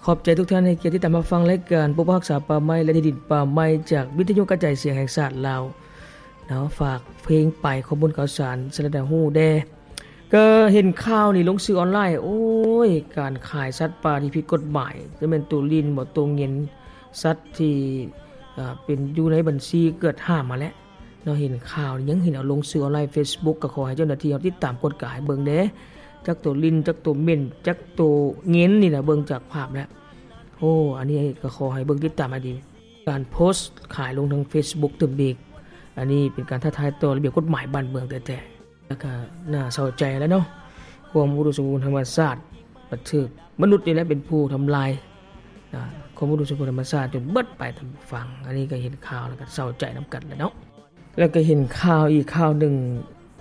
ຂອບໃຈທຸກທ່ານໃຫ້ກຽດຕິດຕາມຮັບຟັງລາຍການປົກປັກຮັກສາປ່າໄມ້ ແລະ ທີ່ດິນປ່າໄມ້ ຈາກວິທະຍຸກະຈາຍສຽງແຫ່ງຊາດລາວເນາະ. ຝາກເພງໄປ ຂໍ້ມູນຂ່າວສານສະແນໃຫ້ຮູ້ແດ່. ກໍເຫັນຂ່າວນີ້ລົງສື່ອອນລາຍ ໂອ້ຍ ການຂາຍສັດປ່າທີ່ຜິດກົດໝາຍ ຈະແມ່ນໂຕລິ່ນບໍ ໂຕເຫງັນ ສັດທີ່ ເປັນຢູ່ໃນບັນຊີເກີດຫ້າມຫັ້ນແຫຼະເນາະ. ເຫັນຂ່າວນີ້ຍັງເຫັນເອົາລົງສື່ອອນລາຍເຟສບຸກ ກໍຂໍໃຫ້ເຈົ້າໜ້າທີ່ເຮົາຕິດຕາມກວດກາໃຫ້ເບິ່ງແດ່ ຈັກໂຕລິ່ນ ຈັກໂຕເຫງັນ ຈັກໂຕເຫງັນນີ້ນະ ເບິ່ງຈາກພາບແລ້ວ ໂອ້ ອັນນີ້ກໍຂໍໃຫ້ເບິ່ງຕິດຕາມໃຫ້ດີ ການໂພສຂາຍລົງທາງເຟສບຸກຕື່ມອີກ ອັນນີ້ເປັນການທ້າທາຍຕໍ່ລະບຽບກົດໝາຍບ້ານເມືອງແທ້ໆ. ແລ້ວກໍໜ້າເສົ້າໃຈແຫຼະເນາະ ຄວາມອຸດົມສົມບູນທຳມະຊາດ ບັດຖືກມະນຸດນີ້ແຫຼະເປັນຜູ້ທຳລາຍ ອາ ຄວາມອຸດົມສົມບູນທຳມະຊາດຈົນເບິດໄປ ທ່ານຜູ້ຟັງ. ອັນນີ້ກໍເຫັນຂ່າວແລ້ວກໍເສົ້າໃຈນຳກັນແຫຼະເນາະ. ແລ້ວກໍເຫັນຂ່າວອີກຂ່າວໜຶ່ງ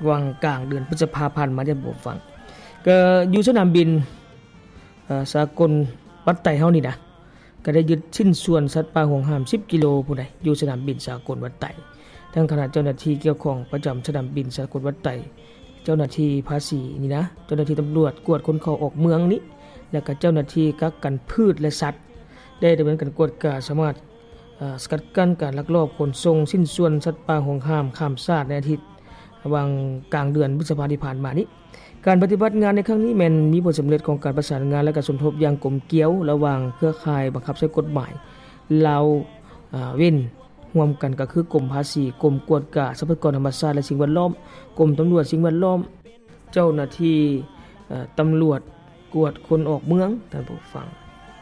ຫວ່າງກາງເດືອນພຶດສະພາຜ່ານມາ ທ່ານຜູ້ຟັງ ກໍຢູ່ສະໜາມບິນ ເອີ ສາກົນວັດໄຕເຮົານີ້ນະ ກໍໄດ້ຍຶດຊິ້ນສ່ວນສັດປ່າຫວງຫ້າມສິບກິໂລພຸ້ນໃດ໋ ຢູ່ສະໜາມບິນສາກົນວັດໄຕ. ທາງຄະນະເຈົ້າໜ້າທີ່ກ່ຽວຂ້ອງປະຈຳສະໜາມບິນສາກົນວັດໄຕ, ເຈົ້າໜ້າທີ່ພາສີນີ້ນະ, ເຈົ້າໜ້າທີ່ຕຳຫຼວດກວດຄົນເຂົ້າອອກເມືອງນີ້ ແລະ ກໍເຈົ້າໜ້າທີ່ກັກກັນພືດ ແລະ ສັດ ໄດ້ດຳເນີນການກວດກາ ສາມາດ ເອີ ສະກັດກັ້ນການລັກລອບຂົນສົ່ງຊິ້ນສ່ວນສັດປ່າຫວງຫ້າມຂ້າມຊາດໃນອາທິດ ຫວ່າງກາງເດືອນພຶດສະພາທີ່ຜ່ານມານີ້. ການປະຕິບັດງານໃນຄັ້ງນີ້ແມ່ນມີຜົນສຳເລັດຂອງການປະສານງານ ແລະ ການສົມທົບຢ່າງກົມກຽວລະຫວ່າງເຄືອຂ່າຍບັງຄັບໃຊ້ກົດໝາຍລາວ ເອີ ເວັ້ນ ຮ່ວມກັນກໍຄືກົມພາສີ, ກົມກວດກາຊັບພະຍາກອນທຳມະຊາດ ແລະ ສິ່ງແວດລ້ອມ, ກົມຕຳຫຼວດສິ່ງແວດລ້ອມ, ເຈົ້າໜ້າທີ່ ເອີ ຕຳຫຼວດກວດຄົນອອກເມືອງ, ທ່ານຜູ້ຟັງ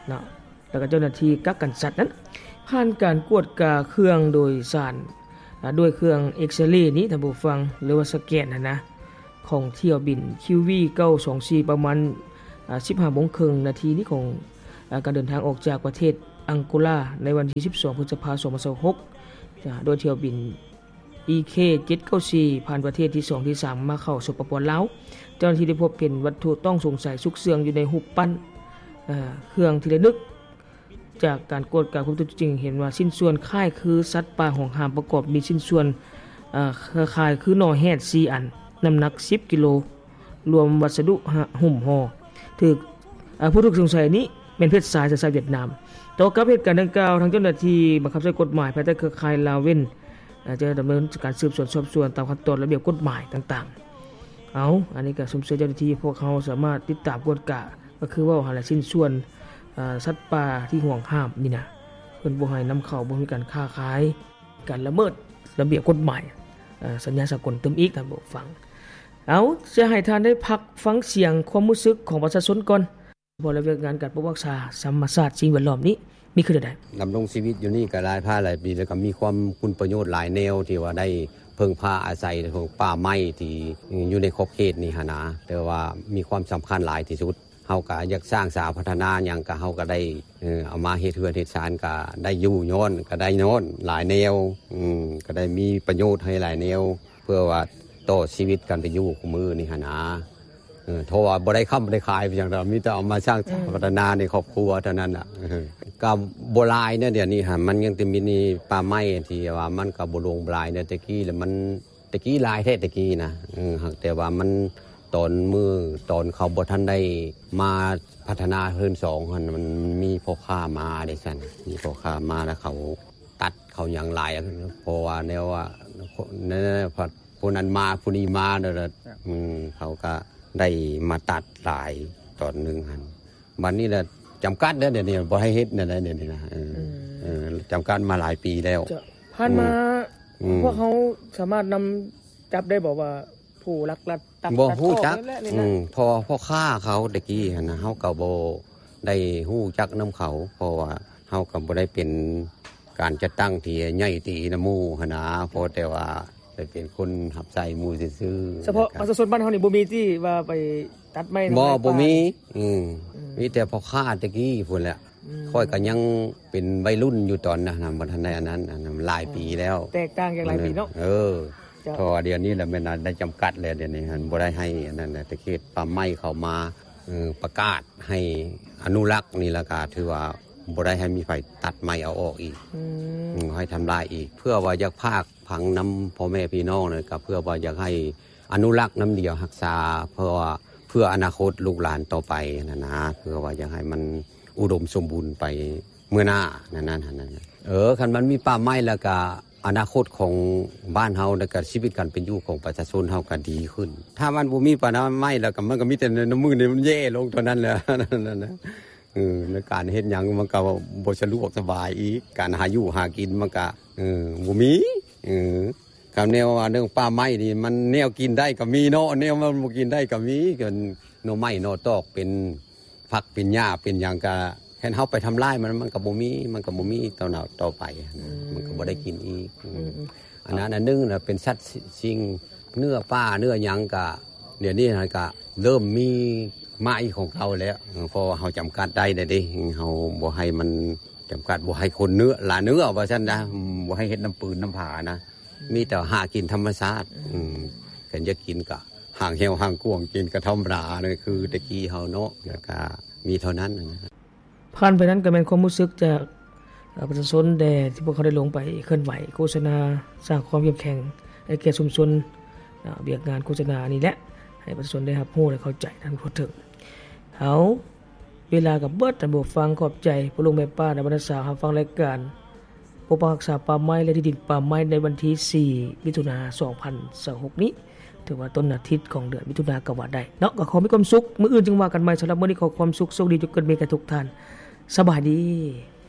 ເນາະ. ແລ້ວກໍເຈົ້າໜ້າທີ່ກັກກັນສັດນັ້ນ ຜ່ານການກວດກາເຄື່ອງໂດຍສານ ອາ ດ້ວຍເຄື່ອງເອັກສະເຣນີ້ ທ່ານຜູ້ຟັງ ຫຼືວ່າສະແກນຫັ້ນນະ ຂອງຖ້ຽວບິນ ຄິວວີ ເກົ້າສອງສີ່ ປະມານ ອາ ສິບຫ້າໂມງເຄິ່ງນາທີນີ້ ຂອງ ອາ ການເດີນທາງອອກຈາກປະເທດອັງໂກລາ ໃນວັນທີສິບສອງ ພຶດສະພາ ສອງພັນຊາວຫົກ ອາ ໂດຍຖ້ຽວບິນ ອີເຄ ເຈັດເກົ້າສີ່ ຜ່ານປະເທດທີສອງ ທີສາມ ມາເຂົ້າ ສປປ ລາວ. ເຈົ້າໜ້າທີ່ໄດ້ພົບເຫັນວັດຖຸຕ້ອງສົງໄສຊຸກເຊື່ອງຢູ່ໃນຮູບປັ້ນ ເອີ ເຄື່ອງທີ່ລະນຶກ. ຈາກການກວດກາພົບຕົວຈິງເຫັນວ່າຊິ້ນສ່ວນຄ້າຍຄືສັດປ່າຫວງຫ້າມປະກອບມີຊິ້ນສ່ວນ ເອີ ຄ້າຍຄືໜໍ່ແຮດສີ່ອັນ ນ້ຳໜັກສິບກິໂລ ລວມວັດສະດຸຫະ ຫຸ້ມຫໍ່ ຖືກ ເອີ ຜູ້ຖືກສົງໄສນີ້ແມ່ນເພັດຊາຍ ສັນຊາດຫວຽດນາມ. ຕໍ່ກັບເຫດການດັ່ງກ່າວ ທາງເຈົ້າໜ້າທີ່ບັງຄັບໃຊ້ກົດໝາຍພາຍໃຕ້ເຄືອຂ່າຍລາວເວັ້ນ ອາ ຈະດຳເນີນການສືບສວນສອບສວນຕາມຂັ້ນຕອນລະບຽບກົດໝາຍຕ່າງໆ. ເອົາ ອັນນີ້ກໍຊົມເຊີຍເຈົ້າໜ້າທີ່ ພວກເຮົາສາມາດຕິດຕາມກວດກາ ກໍຄືເວົ້າຫັ້ນແຫຼະ ຊິ້ນສ່ວນ ເອີ ສັດປ່າທີ່ຫວງຫ້າມນີ້ນະ ເພິ່ນບໍ່ໃຫ້ນຳເຂົ້າ ບໍ່ໃຫ້ມີການຄ້າຂາຍ ການລະເມີດລະບຽບກົດໝາຍ ເອີ ສັນຍາສາກົນຕື່ມອີກ ທ່ານຜູ້ຟັງ. ເອົາ ຈະໃຫ້ທ່ານໄດ້ພັກຟັງສຽງຄວາມຮູ້ສຶກຂອງປະຊາຊົນກ່ອນ. ເພາະລະວຽກງານການປົກປັກຮັກສາທຳມະຊາດສິ່ງແວດລ້ອມນີ້ມີຄືແນວໃດ? ດຳລົງຊີວິດຢູ່ນີ້ກໍຫຼາຍພາຫຼາຍປີ ແລ້ວກໍມີຄວາມຄຸນປະໂຫຍດຫຼາຍແນວ ທີ່ວ່າໄດ້ເພິ່ງພາອາໄສຂອງປ່າໄມ້ທີ່ຢູ່ໃນຂອບເຂດນີ້ຫັ້ນນາ ແຕ່ວ່າມີຄວາມສຳຄັນຫຼາຍທີ່ສຸດ. ເຮົາກໍຢາກສ້າງສາພັດທະນາຫຍັງ ກໍເຮົາກໍໄດ້ ເອີ ເອົາມາເຮັດເຮືອນເຮັດຊານ ກໍໄດ້ຢູ່ຍ້ອນ ກໍໄດ້ຍ້ອນຫຼາຍແນວ ອືມ ກໍໄດ້ມີປະໂຫຍດໃຫ້ຫຼາຍແນວ ເພື່ອວ່າຕໍ່ຊີວິດການເປັນຢູ່ຂອງມື້ນີ້ຫັ້ນນາ. ເອີ ເພາະວ່າບໍ່ໄດ້ຄ້ຳບໍ່ໄດ້ຂາຍຫຍັງດອກ ມີແຕ່ເອົາມາສ້າງສາ ອືມ ພັດທະນາໃນຄອບຄົວເທົ່ານັ້ນລະ. ເອີ ກໍບໍ່ຫຼາຍນະ ດຽວນີ້ຫັ້ນ ມັນຍັງແຕ່ມີປ່າໄມ້ທີ່ວ່າມັນກໍບໍ່ລົງຫຼາຍນະ ແຕ່ກີ້ລະມັນ ແຕ່ກີ້ຫຼາຍແທ້ແຕ່ກີ້ນະ. ເອີ ຫາກແຕ່ວ່າມັນ ຕອນມື້ ຕອນເຂົາບໍ່ທັນໄດ້ມາພັດທະນາເຮືອນສອງຫັ້ນ ມັນມີພໍ່ຄ້າມາເດ້ຊັ້ນ ມີພໍ່ຄ້າມາແລ້ວເຂົາຕັດເຂົາຫຍັງຫຼາຍ ເພາະວ່າແນວວ່າ ແນວ ຜູ້ນັ້ນມາຜູ້ນີ້ມາ ແລ້ວ ເຂົາກໍໄດ້ມາຕັດຫຼາຍຕອນໜຶ່ງຫັ້ນ. ບັດນີ້ລະຈຳກັດແລ້ວ ດຽວນີ້ບໍ່ໃຫ້ເຮັດແນວໃດ ດຽວນີ້ນະ. ເອີ ອືມ ເອີ ຈຳກັດມາຫຼາຍປີແລ້ວ. ເຈົ້າ ຜ່ານມາ ອືມ ອືມ ພວກເຮົາສາມາດນຳຈັບໄດ້ບໍ່ວ່າຜູ້ລັກລອບຕັດ ຕັດ ຕັດ ບໍ່ຮູ້ຈັກ ອອກແລ້ວນີ້ນະ? ອືມ ເພາະວ່າພໍ່ຄ້າເຂົາແຕ່ກີ້ຫັ້ນນະ ເຮົາກໍບໍ່ໄດ້ຮູ້ຈັກນຳເຂົາ ເພາະວ່າເຮົາກໍບໍ່ໄດ້ເປັນການຈັດຕັ້ງທີ່ໃຫຍ່ຕີນຳໝູ່ຫັ້ນນະ ພໍແຕ່ວ່າໄດ້ເປັນຄົນຮັບໃຊ້ໝູ່ຊື່ໆ. ສະເພາະປະຊາຊົນບ້ານເຮົານີ້ບໍ່ມີຕິວ່າໄປຕັດໄມ້ທຳລາຍປ່າ? ບໍ່ ບໍ່ມີ. ອືມ ອືມ ມີແຕ່ພໍ່ຄ້າແຕ່ກີ້ພຸ້ນແຫຼະ. ອືມ ຂ້ອຍກໍຍັງເປັນໄວລຸ້ນຢູ່ຕອນນັ້ນນະ ບໍ່ທັນໄດ້ອັນນັ້ນ ອັນນັ້ນຫຼາຍປີແລ້ວ. ແຕກຕ່າງຈາກຫຼາຍປີເນາະ. ເອີ ເຈົ້າ ເພາະວ່າດຽວນີ້ລະແມ່ນໄດ້ຈຳກັດແລ້ວ ດຽວນີ້ຫັ້ນ ອືມ ບໍ່ໄດ້ໃຫ້ອັນນັ້ນແຫຼະ ແຕ່ເຂດປ່າໄມ້ເຂົາມາ ເອີ ປະກາດໃຫ້ອະນຸລັກນີ້ ແລ້ວກໍຖືວ່າບໍ່ໄດ້ໃຫ້ມີໃຜຕັດໄມ້ເອົາອອກອີກ. ອືມ ອືມ ໃຫ້ທຳລາຍອີກ ເພື່ອວ່າຢາກຝາກຝັງນຳພໍ່ແມ່ພີ່ນ້ອງນະ ກໍເພື່ອວ່າຢາກໃຫ້ ອະນຸລັກນຳດຽວຮັກສາ ເພາະວ່າ ເພື່ອອະນາຄົດລູກຫຼານຕໍ່ໄປຫັ້ນນະ ເພື່ອວ່າຢາກໃຫ້ມັນອຸດົມສົມບູນໄປເມື່ອໜ້ານັ້ນໆ ເອີ ຄັນມັນມີປ່າໄມ້ແລ້ວກະ ອະນາຄົດຂອງບ້ານເຮົາ ແລ້ວກະຊີວິດການເປັນຢູ່ຂອງປະຊາຊົນເຮົາກະດີຂຶ້ນ. ຖ້າມັນບໍ່ມີປ່າໄມ້ແລ້ວກະ ມັນກະມີແຕ່ນ້ຳມືນີ້ມັນແຍ່ລົງເທົ່ານັ້ນແຫຼະ ເອີ ໃນການເຮັດຫຍັງມັນກະບໍ່ສະດວກສະບາຍອີກ ການຫາຢູ່ຫາກິນມັນກະ ເອີ ບໍ່ມີ ເອີ ຄຳແນວວ່າເລື່ອງປ່າໄມ້ນີ້ ມັນແນວກິນໄດ້ກະມີເນາະ ແນວມັນບໍ່ກິນໄດ້ກະມີ ເປັນໜໍ່ໄມ້ໜໍ່ຕອກ ເປັນຜັກເປັນຫຍ້າເປັນຫຍັງກະ ຄັນເຮົາໄປທຳລາຍມັນ ມັນກະບໍ່ມີ ມັນກະບໍ່ມີຕໍ່ໜ້າຕໍ່ໄປ ອືມ ມັນກະບໍ່ໄດ້ກິນອີກ ອືມ ອືມ ອັນນັ້ນອັນໜຶ່ງນະ ເປັນສັດສິ່ງ ເນື້ອປ່າເນື້ອຫຍັງກະ ດຽວນີ້ຫັ້ນກະເລີ່ມມີມາອີກຂອງເກົ່າແລ້ວ ເພາະວ່າເຮົາຈຳກັດໄດ້ແລ້ວເດ້ ເຮົາບໍ່ໃຫ້ມັນຈຳກັດ ບໍ່ໃຫ້ຄົນເນື້ອ ລາເນື້ອວ່າຊັ້ນນະ ອືມ ບໍ່ໃຫ້ເຮັດນ້ຳປືນນ້ຳຜານະ ອືມ ມີແຕ່ຫາກິນທຳມະຊາດ ອືມ ອືມ ຄັນຢາກກິນກະຫາງແຫ້ວຫາງກວາງ ກິນກະທຳມະດາ ຄືແຕ່ກີ້ເຮົາເນາະ ແລ້ວກະມີເທົ່ານັ້ນນະ. ຜ່ານໄປນັ້ນກໍແມ່ນຄວາມຮູ້ສຶກຈາກ ເອີ ປະຊາຊົນແດ່ ທີ່ພວກເຂົາໄດ້ລົງໄປເຄື່ອນໄຫວ ໂຄສະນາ ສ້າງຄວາມເຂັ້ມແຂງໃຫ້ແກ່ຊຸມຊົນ ເອີ ວຽກງານໂຄສະນານີ້ແຫຼະ ໃຫ້ປະຊາຊົນໄດ້ຮັບຮູ້ ແລະ ເຂົ້າໃຈທັນທົ່ວເຖິງ. ເອົາ ເວລາກໍເບິດ ທ່ານຜູ້ຟັງ ຂອບໃຈພໍ່ລຸງແມ່ປ້າ ແລະ ບັນດາສາວ ຮັບຟັງລາຍການປົກປັກຮັກສາປ່າໄມ້ ແລະ ທີ່ດິນປ່າໄມ້ ໃນວັນທີສີ່ ມິຖຸນາ ສອງພັນຊາວຫົກນີ້ ຖືວ່າຕົ້ນອາທິດຂອງເດືອນມິຖຸນາກໍວ່າໄດ້ເນາະ ກໍຂໍມີຄວາມສຸກ ມື້ອື່ນຈຶ່ງວ່າກັນໃໝ່ ສຳລັບມື້ນີ້ຂໍຄວາມສຸກໂຊກດີ ຈົ່ງເກີດມີແກ່ທຸກທ່ານ ສະບາຍດີ.